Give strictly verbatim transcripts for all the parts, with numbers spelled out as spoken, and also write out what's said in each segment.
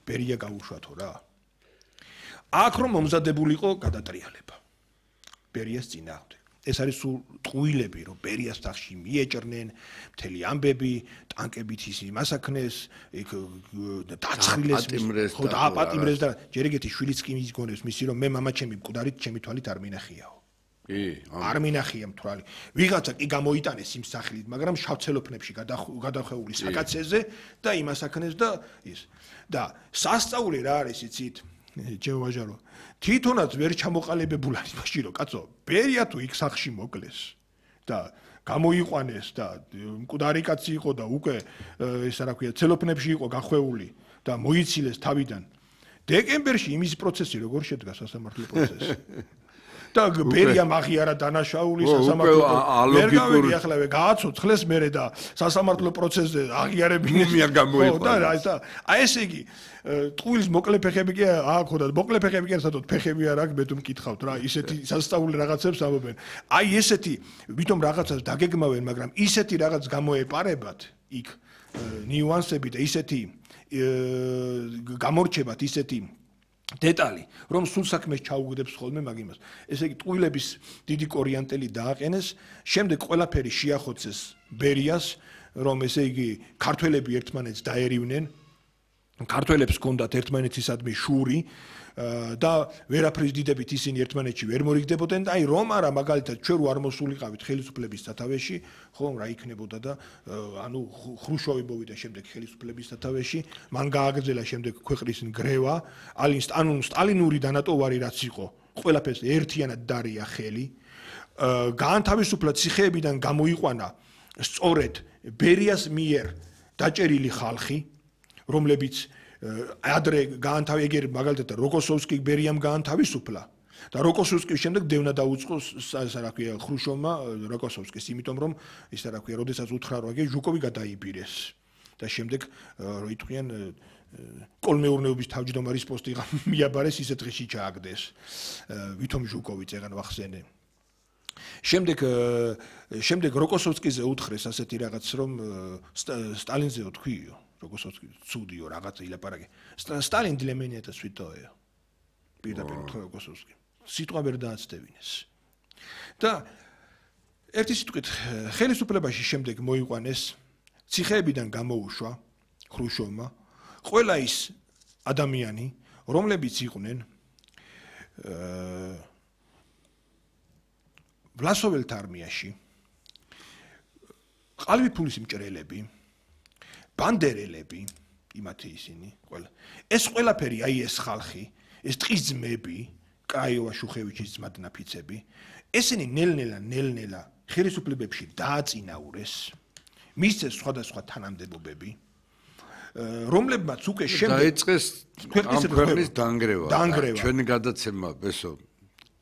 ბერია გაუშვათო რა. აქ რომ მომზადებულიყო გადატრიალება ბერიას წინააღმდეგ. ეს არის სულ ტყუილები, რომ ბერიას თახში მიეჭრნენ, მთელი ამბები, ტანკებით ისინი მასაქნეს, იქ დაცხრილეს, ხო დააპატიმრეს და ჯერ ეგეთი შვილიც კი მიგონებს მისი რომ მე მამაჩემი მკვდარით ჩემი თვალით არ მინახიაო. კი, არ მინახია მთვალი. ვიღაცა კი გამოიტანეს იმ სახლით, მაგრამ შავცელოფნებში გადახვეული საკაცეზე და იმასაქნეს და ის. და სასწაული რა არის იცით? ჩემო ვაჟარო თვითონაც ვერ ჩამოყალიბებულ არის მაშინ რომ კაცო ბერია თუ იქ სახში მოკლეს და გამოიყვანეს და მკვდარი კაცი იყო და უკვე ესა რა ქვია ცელოფნებში იყო გახვეული და მოიცილეს თავიდან დეკემბერში იმის პროცესი როგორ შედგა სასამართლო პროცესი და ბერია მაღიარა დანაშაული სასამართლო ვერ გავიგე ახლა გააცოცხლეს მერე და სასამართლო პროცესზე აღიარებინეს მუმია გამოიყვანეს და აი ესე იგი ტყუილის მოკლე ფეხები კი აქ ხოდა მოკლე ფეხები კი არ სადოთ ფეხები არ აქვს მე თუ მკითხავთ რა ისეთი სასწაული რაღაცებს ამობენ აი ესეთი ვითომ რაღაცას დაგეგმავენ მაგრამ ისეთი რაღაც გამოეპარებათ იქ ნიუანსები და ისეთი გამორჩებათ ისეთი დეტალი რომ სულ საქმეს ჩაუგდებს ხოლმე მაგ იმას ესე იგი ტყუილების დიდი კორიანტელი დააყენეს შემდეგ ყველაფერი შეახოცეს ბერიას რომ ესე იგი ქართველები ერთმანეთს დაერივნენ ქართველებს ჰქონდათ ერთმანეთისადმი შური და ვერაფრის დიდებით ისინი ერთმანეთში ვერ მორიგდებოდნენ და აი რომ არა მაგალითად ჩვენ რო არ მოსულიყავით ხელისუფლების სათავეში ხო რა იქნებოდა და ანუ ხრუშოვი მოვიდა შემდეგ ხელისუფლების სათავეში მან გააგრძელა შემდეგ ქვეყნის ნგრევა ანუ სტალინური დანატოვარი რაც იყო ყველაფერს ერთიანად დარია ხელი გაანთავისუფლა ციხეებიდან გამოიყვანა სწორედ ბერიას მიერ დაჭერილი ხალხი რომლებიც ადრე გაანთავი ეგერ მაგალითად როკოსოვსკი ბერიამ გაანთავისუფლა და როკოსოვსკის შემდეგ დევნა დაუწყო ასე რა ქვია ხრუშოვმა როკოსოვსკის იმიტომ რომ ისე რა ქვია როდესაც უთხრა რომ ეგ ჟუკოვი გადაიბირეს და შემდეგ რო იტყვიან კოლმეურნეობის თავმჯდომარის პოსტი მიაბარეს ისეთ დღეში ჩააგდეს ვითომ ჟუკოვი წეგან ვახსენე შემდეგ შემდეგ როკოსოვსკიზე უთხრეს ასეთი რაღაც რომ სტალინზეო თქვიო როკოსოვსკი ცუდიო რაღაცა ილაპარაკე სტალინ для меня это святое პირდაპირ უთხრა როკოსოვსკი სიტყვა ვერ დააცდევინეს და ერთი სიტყვით ხელისუფლებაში შემდეგ მოიყვანეს ციხეებიდან გამოუშვა ხრუშოვმა ყველა ის ადამიანი რომლებიც იყვნენ ვლასოველთა არმიაში ყალბიფულის მჭრელები ბანდერელები იმათი ისინი ყველა ეს ყველაფერი აი ეს ხალხი ეს ტყის ძმები კრაიოვა შუხევიჩის ძმადნაფიცები ესენი ნელ-ნელა ნელ-ნელა ხელისუფლებებში დააწინაურეს მისცეს სხვადასხვა თანამდებობები რომლებმაც უკვე შემდეგ დაიწყეს ქვეყნის დანგრევა ჩვენი გადაცემა ბესო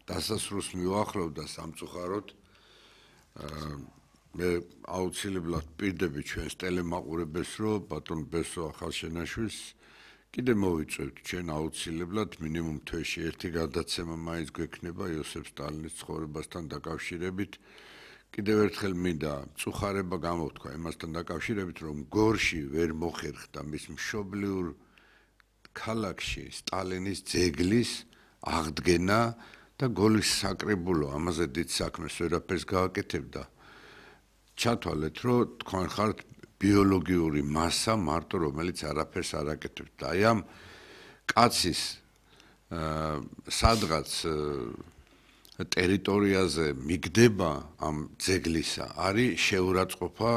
დასასრულს მივახლოვდა სამწუხაროდ მე აუცილებლად პირდები ჩვენს ტელემაყურებელს რომ ბატონ ბესო ახალშენაშვილს კიდე მოვიწევთ ჩვენ აუცილებლად მინიმუმ თვეში ერთი გადაცემა მაინც გვექნება იოსებ სტალინის ცხოვრებასთან დაკავშირებით კიდევ ერთხელ მინდა წუხარება გამოვთქვა იმასთან დაკავშირებით რომ გორში ვერ მოხერხდა მის მშობლიურ ქალაქში სტალინის ძეგლის აღდგენა და გოლის საკრებულო ამაზე დიდ საქმეს ვერაფერს გააკეთებდა ჩათვალეთ რომ თქვენ ხართ ბიოლოგიური მასა მარტო რომელიც არაფერს არ აკეთებთ და აი ამ კაცის სადღაც ტერიტორიაზე მიგდება ამ ძეგლისა არის შეურაცხყოფა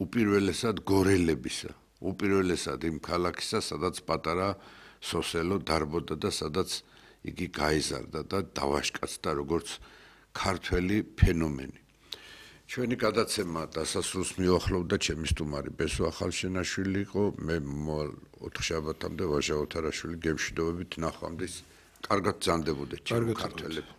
უპირველესად გორელებისა უპირველესად იმ ქალაქისა სადაც პატარა სოსელო დარბოდა და სადაც იგი გაიზარდა და დავაშკაცდა როგორც ქართველი ფენომენი ჩვენი გადაცემა დასასრულს მიუახლოვდა ჩემი სტუმარი ბესო ახალშენაშვილი იყო მე ოთხშაბათამდე ვაჟა ოთარაშვილი გემშვიდობებით ნახვამდის კარგად ბრძანდებოდეთ ჩემ ქართველებს